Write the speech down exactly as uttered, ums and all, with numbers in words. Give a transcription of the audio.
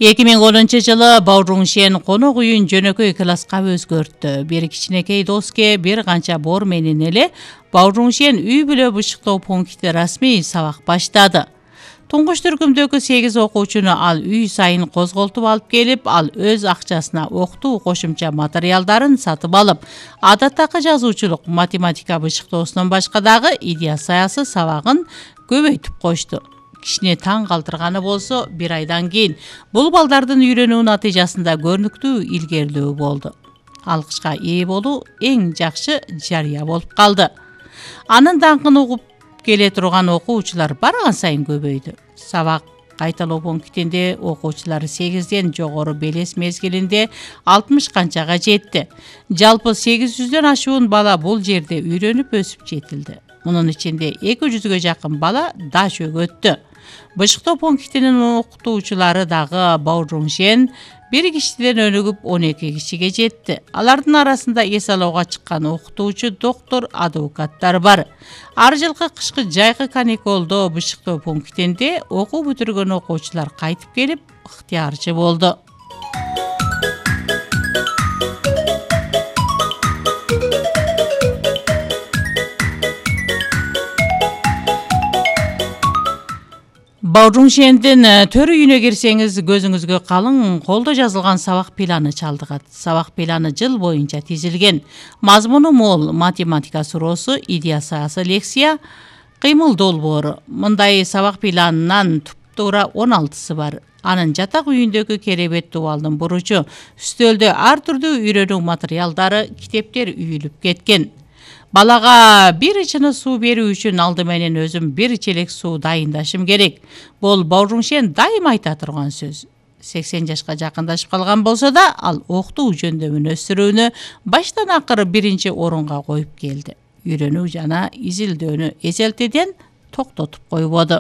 эки миң онунчу жылы Бауруншен конок үйүн жөнөкөй класска өзгөрттү. Бир кичинекей доске бир канча бор менен эле Бауруншен үй бүлө бышыктоо пункти расмий сабак баштады. Туңгуч түркүмдөгү сегиз окуучуну ал үй сайын козголтуп алып келип, ал өз акчасына октуу кошумча материалдарын сатып алып, адаттагы жазуучулук, математика бышыктоосунан башка дагы идея саясы сабагын көбөйтүп кошту. Кишини таң калтырганы болсо, бир айдан кийин бул балдардын үйрөнүү натыйжасында көрүнүктүү илгерилөө болду. Алкычка ээ болуу эң жакшы жарыя болуп калды. Анын даңкын угуп келе турган окуучулар барган сайын көбөйдү. Сабак кайталоо пунктинде окуучулар сегизден жогору белес мезгилинде алтымыш канчага жетти. Жалпы сегиз жүздөн ашуун бала бул жерде үйрөнүп өсүп жетилди. Мунун ичинде эки жүзгө жакын бала даш өгөттү. Бышыктоо пунктинин окутуучулары дагы Бауруншен бир кишиден өнүгүп он эки кишиге жетти. Алардын арасында эс алууга чыккан окутуучу, доктор, адвокаттар бар. Ар жылкы кышкы жайкы каникулдо бышыктоо пунктинде окуу бүтүргөн окуучулар кайтып келип, ыктыярчы болду. Бауруншендин төр үйүнө кирсеңиз, көзүңүзгө калың колдо жазылган сабак планы чалдыгат. Сабак планы жыл боюнча тизилген. Мазмуну мол: математика суроосу, идея саясы лекция, кыймыл долбоору. Мындай сабак планынан туп-туура он алтысы бар. Анын жатак үйүндөгү керебет дубалдын буручу, үстөлдө ар түрдүү үйрөнүү материалдары, китептер үйүлүп кеткен. Балага бир ичине суу берүү үчүн алды менен өзүм бир челек суу дайындашым керек. Бул Бауруншен дайыма айта турган сөз. сексен жашка жакындашып калган болсо да, ал окутуу жөндөмүн өстүрүүнү баштан акыры биринчи орунга коюп келди. Үйрөнүү жана изилдөөнү эзелтеден токтотуп койбоду.